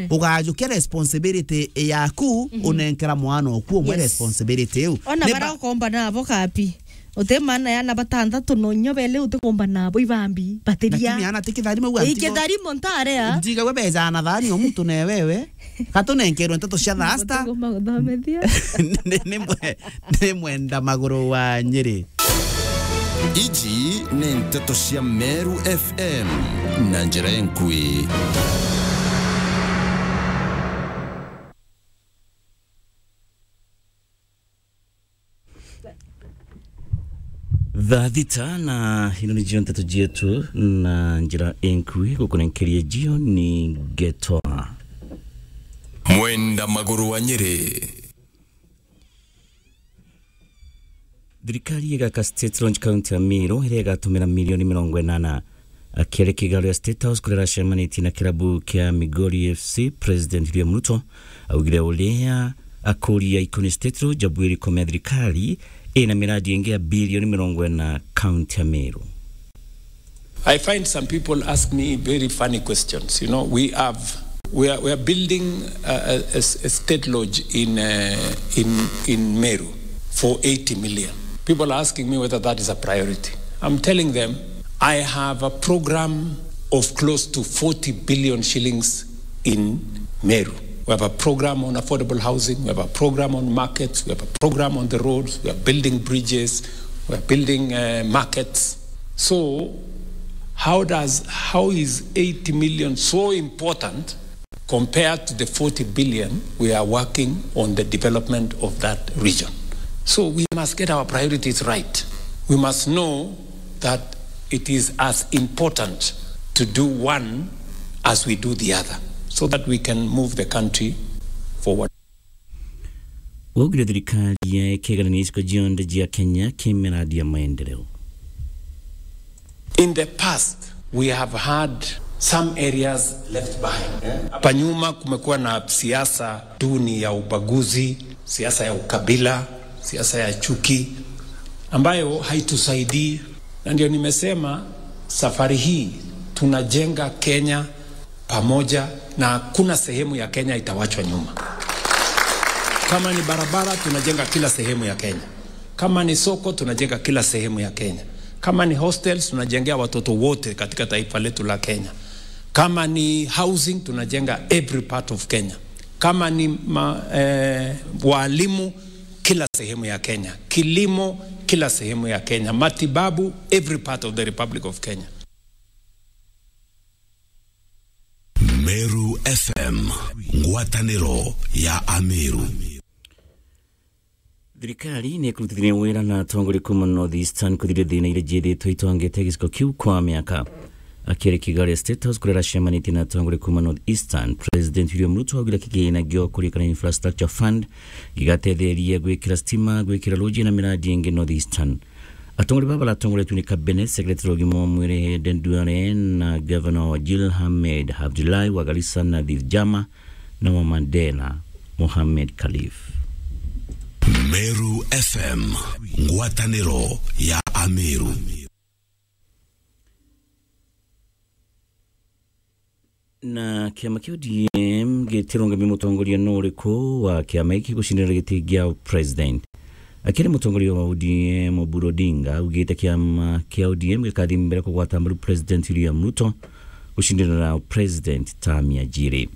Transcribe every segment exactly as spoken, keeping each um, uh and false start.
Ugajukia responsibility yaku, unenkera mwana oku umwe Yes. responsibility iu. Ona Ni bara ba- ukomba nabo kapi. Uti maana ya na batantatu no nyo bele utikomba nabo ibambi. Batiria. Lakini ana ti kitharimo au Ii antigo. Kitharimo ntarea. Ntiga we beja na thani o muntu ne wewe. Katunenkerwe nteto cia thasta. Utigomba guthomethia. Ni, ni mwe-, ni mwenda maguru wa Nyeri. Iji ni nteto cia Meru F M na njira enkui. Thaa thita na ino nicio nteto cietu na njira enkui gukunenkeria jio ni Getoa. Mwenda maguru wa Nyeri. Thirikari igaka State Launch County ya Meru, iria igatumira milioni mirongo inana. Akiaria kigaro ya State House kuria aracemanitie na kirabu kia Migori F C, President William Ruto augire uria akuria Ikoni State Launch abwiri komea thirikari ina miradi ingi ya bilioni mirongo ina kaunti ya Meru. I find some people ask me very funny questions. You know, we have, we are, we are building a, a, a s-, a state lodge in, uh, in, in Meru for eighty million. People are asking me whether that is a priority. I'm telling them, I have a program of close to forty billion shillings in Meru. We have a program on affordable housing, we have a program on markets, we have a program on the roads, we are building bridges, we are building, uh, markets. So, how does, how is eighty million so important compared to the forty billion we are working on the development of that region? So we must get our priorities right. We must know that it is as important to do one as we do the other, so that we can move the country forward. Waugire thirikari ya ikiganania icigo cionthe cia Kenya ki miradi ya maendeleo. In the past, we have had some areas left behind. Hapa nyuma kumekuwa na siasa duni ya ubaguzi, siasa ya ukabila, siasa ya chuki, ambayo haitusaidii. Na ndio nimesema safari hii tunajenga Kenya pamoja, na hakuna sehemu ya Kenya itawachwa nyuma. Kama ni barabara, tunajenga kila sehemu ya Kenya. Kama ni soko, tunajenga kila sehemu ya Kenya. Kama ni hostels, tunajengea watoto wote katika taifa letu la Kenya. Kama ni housing, tunajenga every part of Kenya. Kama ni ma-, eh, walimu, kila sehemu ya Kenya. Kilimo, kila sehemu ya Kenya. Matibabu, every part of the Republic of Kenya. Meru F M, ngwataniro ya Ameru. Thirikari ni ikurutithania wira na atongoria kuuma North Eastern kuthiria thina iria ciithitwe itongete gicigo kiu kwa miaka. Akiaria kigaro ya State House kuria aracemanitie na atongoria kuuma North Eastern, President William Ruto augire kigina gio kurikana Infrastructure Fund gigatetheria gwikira stima, gwikira ruji na miradi ingi North Eastern. Atongoria baba baratongoretue ni Cabinet Secretary wa ugima wa mwiri Aden Duale na Governor wa Wajir Ahmed Abdullahi wa Garissa, Nadhif Jama na wa Mandera Mohamed Khalif. Meru F M, ngwataniro ya Ameru. Na kiama kia O D M gitirungami mutongoria no uriku wa kiama giki gucindira giti gia president. Akiaria mutongoria wa O D M Oburu Odinga augite kiama kia O D M gikathi mbere kugwata mbaru President William Ruto gucindira president term ya jiri.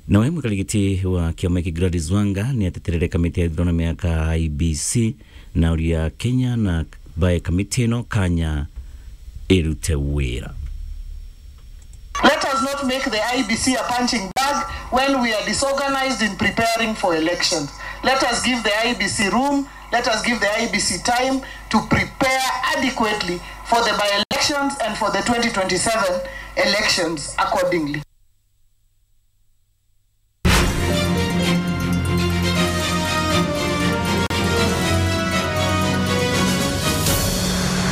Nawe mwikari giti wa kiama giki Gladys Wanga ni ateterere kamiti ya ithurano miaka I E B C na uria Kenya na bae kamiti ino kanya irute wira. Let us not make the I E B C a punching bag when we are disorganized in preparing for elections. Let us give the I E B C room, let us give the I E B C time to prepare adequately for the by-elections and for the twenty twenty-seven elections accordingly.